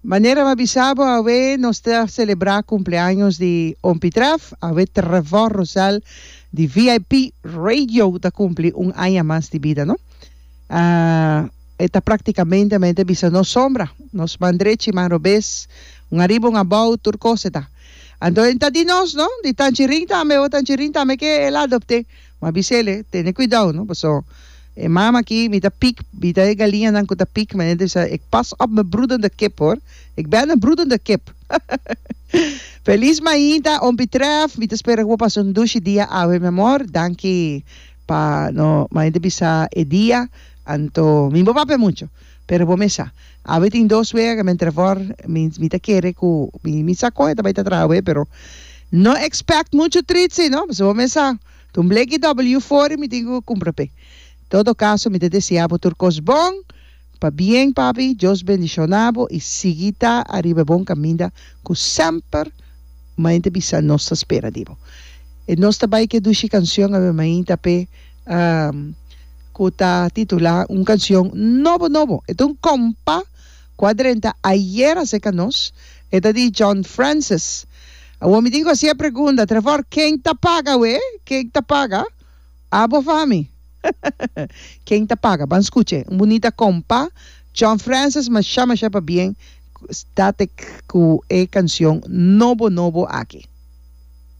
Manera mi a bisa bo awe nos ta selebrá kumpleaños di Ompi Tref, awe Trevor Rosel di VIP Radio ta kumpli un aña mas di bida no. E ta praktikamente mi ta bisa nos sombra, nos man drechi man robes, un ariba un abou tur kos e ta. Anto e ta di nos no, di Tanchirin tambe, o Tanchirin tambe ke el a adopt'é. Mi a bis'el, tene kuidou no, paso e mama aki mi ta pik, mi ta e galiñanan ku ta pik, manera ta bisa, ik pas op mi broedende kip hoor, ik ben een broedende kip. Felis mainta, Ompi Tref, mi ta spera ku bo pasa un dushi dia awe mi amor, danki pa no manera ta bisa e dia, anto mi bo papia mucho, pero bo mes sa, awe tin dos wega, men Trevor, mi mi ta kere ku mi mi sa kon e ta bai ta traha awe, pero no expect mucho tritsi no, pasobra bo mes sa. Ta un bleki W for mi tin ku kumpra p'e. Todo kaso mi ta desea bo tur kos bon, pabien papi, Dios bendishona bo i sigui ta ariba e bon kaminda ku semper mainta bisa nos ta spera di bo. E nos ta bai ku e dushi kanshon awe mainta p'e ku ta titula un kanshon nobo nobo. E ta un kompa ku a drenta ayer aserka nos, e ta di John Francis. Awor mi tin ku hasi e pregunta, Trevor, ken ta paga we? Ken ta paga? Abo of ami? Ken ta paga? Ban skucha e. Un bunita kompa, John Francis masha masha pabien static ku e kanshon nobo nobo aki.